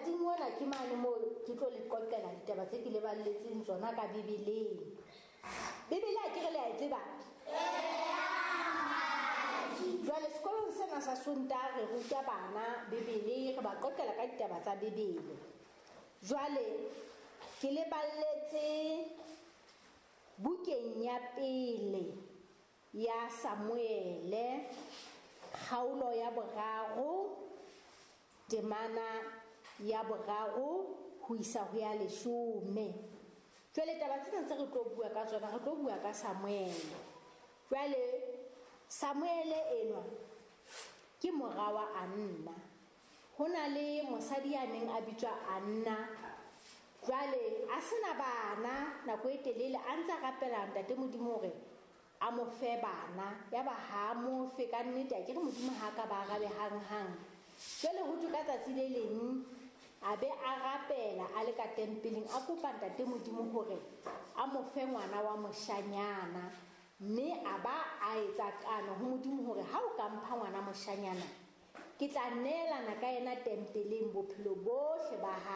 Mothating ona ke mane moo ke tlo le qoqela ditaba tse ke le balletseng tsona ka Bibeleng. Bibele a ke re le a e tseba? Jwale sekolong sena sa Sontaha re ruta bana Bibele, re ba qoqela ka ditaba tsa Bibele. Jwale ke le balletse bukeng ya pele ya Samuele, kgaolo ya boraro, temana ya boraro ho isa ho ya leshome. Jwale taba tsena tse re tlo bua ka tsona, re tlo bua ka Samuele. Jwale Samuele enwa ke mora wa Anna. Ho na le mosadi ya neng a bitswa Anna. Jwale a sena bana nako e telele, a ntse a rapela Ntate Modimo hore a mo fe bana. Yaba ha a mo fe ka nnete, a ke re Modimo ha a ka ba arabe hanghang. Jwale ho thwe ka tsatsi le leng a be a rapela a le ka tempeleng, a kopa Ntate Modimo hore a mo fe ngwana wa moshanyana. Mme a ba a etsa kano ho Modimo hore ha o ka mpha ngwana moshanyana, ke tla neelana ka yena tempeleng bophelo bohle ba hae.